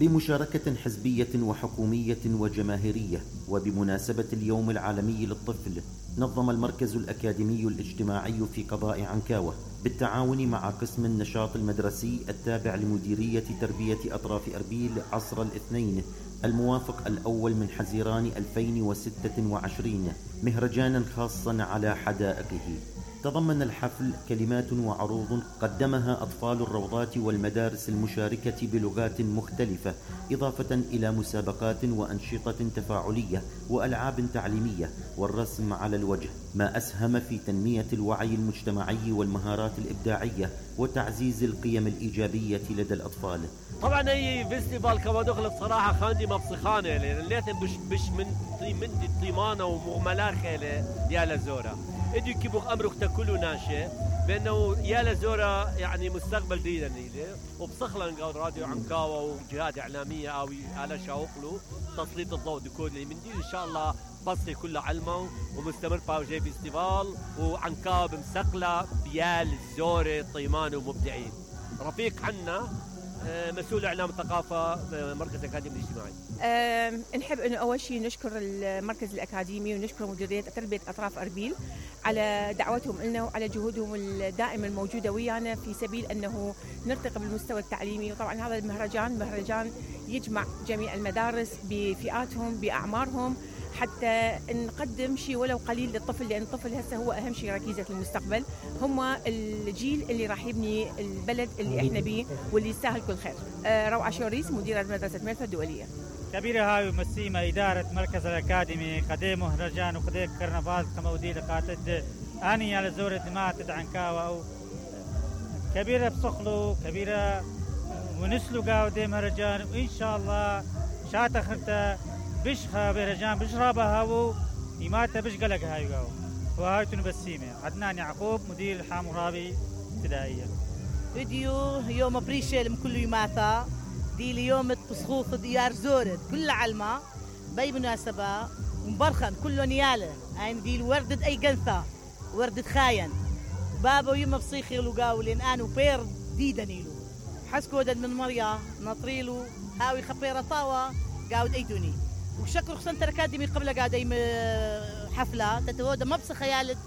بمشاركة حزبية وحكومية وجماهيرية، وبمناسبة اليوم العالمي للطفل، نظم المركز الأكاديمي الاجتماعي في قضاء عنكاوة بالتعاون مع قسم النشاط المدرسي التابع لمديرية تربية أطراف أربيل عصر الاثنين الموافق الأول من حزيران 2026 مهرجانا خاصا على حدائقه. تضمن الحفل كلمات وعروض قدمها أطفال الروضات والمدارس المشاركة بلغات مختلفة، إضافة إلى مسابقات وأنشطة تفاعلية وألعاب تعليمية والرسم على الوجه، ما أسهم في تنمية الوعي المجتمعي والمهارات الإبداعية وتعزيز القيم الإيجابية لدى الأطفال. طبعا هي فيستيفال كما دخلت صراحة خاندي مبصخانة لأن ليتن بش من طيمانة ومغملا خيلة يا لزورة ادي كيبوخ أمرك تاكلوا ناشي بأنه يا لزورة يعني مستقبل ديدا نيلي وبصخلن قال راديو عنكاوة وجهات إعلامية أو على شاوقلو تسليط الضوء ديكود اللي من دي إن شاء الله بصي كلها علمه ومستمر باوجي فيستيفال وعنكاوة بمسقلة بيال الزورة طيمان ومبدعين. رفيق عنا مسؤول إعلام الثقافة مركز الأكاديمي الاجتماعي. نحب أنه أول شيء نشكر المركز الأكاديمي ونشكر مديرية تربية أطراف أربيل على دعوتهم لنا وعلى جهودهم الدائمة الموجودة ويانا في سبيل أنه نرتقي بالمستوى التعليمي. وطبعا هذا مهرجان يجمع جميع المدارس بفئاتهم بأعمارهم حتى نقدم شيء ولو قليل للطفل، لأن الطفل هسه هو أهم شيء ركيزة المستقبل، هم الجيل اللي راح يبني البلد اللي احنا بيه واللي يستاهل كل خير. روعة شوريس مديرة مدرسة ميرفا الدولية. كبيرة هاي مسيمة إدارة مركز الأكاديمي قديم مهرجان وقديم كرنفال كمودي لقاتد أني على زورة دماء عنكاوة أو كبيرة بصخلو كبيرة ونسلو قاودي مهرجان وإن شاء الله شات أخرته بشخة مهرجان بشرابها هاو إماتة بش قلق هاي قاو وهاي تنبسيمة. عدنان يعقوب مدير الحامورابي ابتدائية. فيديو يوم بريشل كل يوماتا دي اليوم بصخوخ ديار زورد كل علمة باي مناسبة مبرخن كله نيالة عين دي وردة أي جنثة وردة خاين بابا يوم بصيخي لقاو لين أنا وبير دي دنيلو حسكو دد من مريا نطريلو هاوي خبيرة طاوة قاود أيتوني وشكر خسنتر أكاديمي قبل قاعد أي حفلة تتودا ما بس خيالت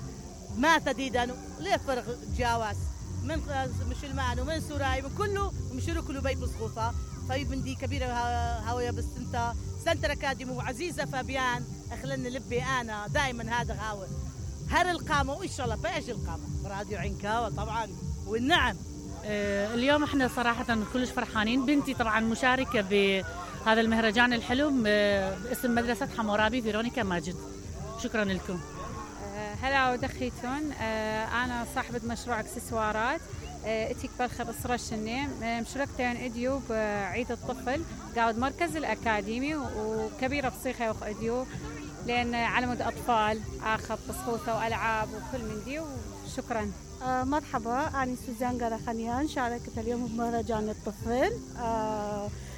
ما تديدانو ليه فرق جاواز من مش المعنى ومن سوراي من كله ومشرو كله بيت بصخوصة طيب من دي كبيرة هاوية بس انت سنتر أكاديمي وعزيزة فابيان أخلنا لبي أنا دائما هذا هاوي هر القامة وإن شاء الله بأجي القامة راديو عنكاوة طبعا والنعم. اليوم احنا صراحة كلش فرحانين. بنتي طبعا مشاركة بهذا المهرجان الحلو باسم مدرسة حمورابي فيرونيكا ماجد. شكرا لكم. هلا ودخيتون. أنا صاحبة مشروع اكسسوارات اتيك بلخة بصرة الشنيم مشاركتين اديو بعيد الطفل قاعد مركز الأكاديمي وكبيرة بصيخة وخ اديو لأن علمود أطفال آخذ بصوثة وألعاب وكل من دي. وشكرا. مرحبا أنا سوزان قرخانيان شاركت اليوم بمهرجان الطفل.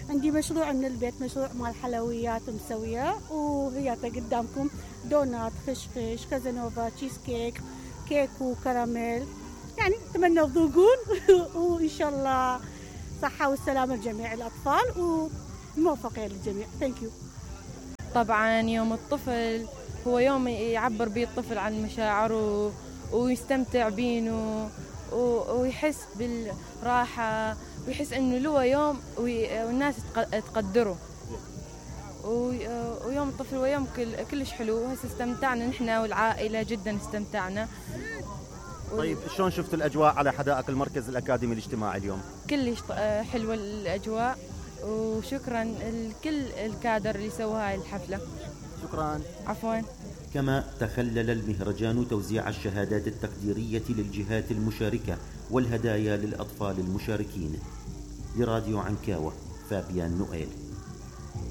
عندي مشروع من البيت مشروع مال حلويات مسوية وهي قدامكم دونات خشخش كازانوفا تشيز كيك وكراميل يعني أتمنى تذوقون وإن شاء الله صحة والسلامة لجميع الأطفال وموفقين للجميع. ثانك يو. طبعا يوم الطفل هو يوم يعبر به الطفل عن مشاعره ويستمتع بينه ويحس بالراحة ويحس إنه له يوم والناس تقدره. ويوم الطفل هو يوم كلش حلو. هسه استمتعنا نحن والعائلة جدا استمتعنا. طيب شلون شفت الأجواء على حدائق المركز الأكاديمي الاجتماعي اليوم؟ كلش حلوة الأجواء وشكرا لكل الكادر اللي سوى هاي الحفلة. شكرا. عفوا. كما تخلل المهرجان توزيع الشهادات التقديرية للجهات المشاركة والهدايا للأطفال المشاركين. لراديو عنكاوة فابيان نوئيل.